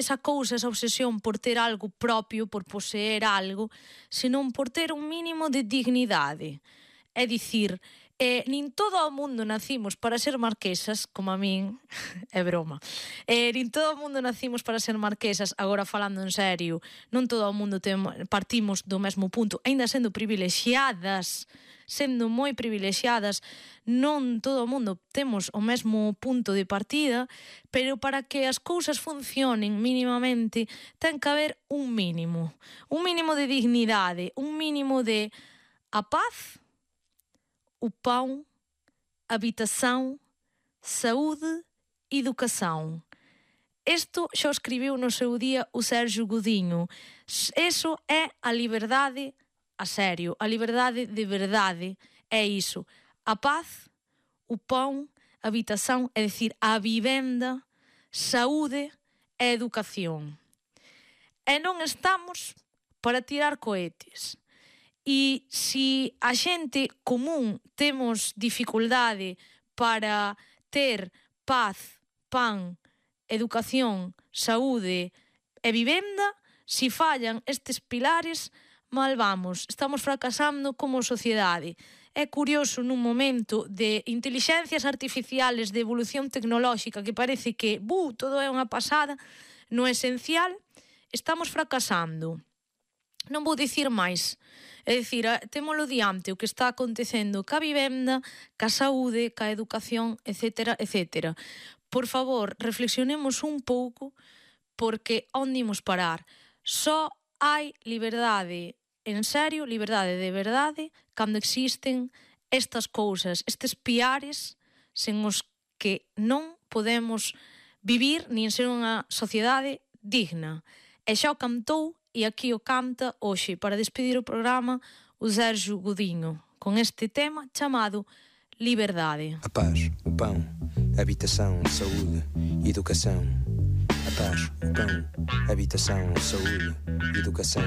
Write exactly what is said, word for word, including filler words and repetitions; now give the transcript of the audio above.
esa cousa, esa obsesión por ter algo propio, por poseer algo, senón por ter un mínimo de dignidade. É dicir, eh, nin todo o mundo nacimos para ser marquesas, como a min, é broma, eh, nin todo o mundo nacimos para ser marquesas, agora falando en serio, non todo o mundo temo, partimos do mesmo punto, aínda sendo privilexiadas, sendo moi privilexiadas, non todo o mundo temos o mesmo punto de partida, pero para que as cousas funcionen mínimamente, ten que haber un mínimo, un mínimo de dignidade, un mínimo de a paz, o pão, habitação, saúde, educação. Isto xa o escribiu no seu día o Sérgio Godinho. Eso é a liberdade a serio, a liberdade de verdade. É iso. A paz, o pão, a habitação, é dicir, a vivenda, saúde e educación. E non estamos para tirar cohetes. E se a xente común temos dificultade para ter paz, pan, educación, saúde e vivenda, se fallan estes pilares, mal vamos, estamos fracasando como sociedade. É curioso nun momento de intelixencias artificiales, de evolución tecnolóxica, que parece que, bu, todo é unha pasada, no esencial, estamos fracasando. Non vou dicir máis. É dicir, témolo diante o que está acontecendo ca vivenda, ca saúde, ca educación, etcétera, etcétera. Por favor, reflexionemos un pouco porque onde imos parar? Só hai liberdade en serio, liberdade de verdade, cando existen estas cousas, estes piares sen os que non podemos vivir nin ser unha sociedade digna. E xa o cantou e aquí o canta hoxe para despedir o programa o Sérgio Godinho con este tema chamado Liberdade. A paz, o pão, a habitação, saúde, educação. A paz, o pão, a habitação, saúde, educação.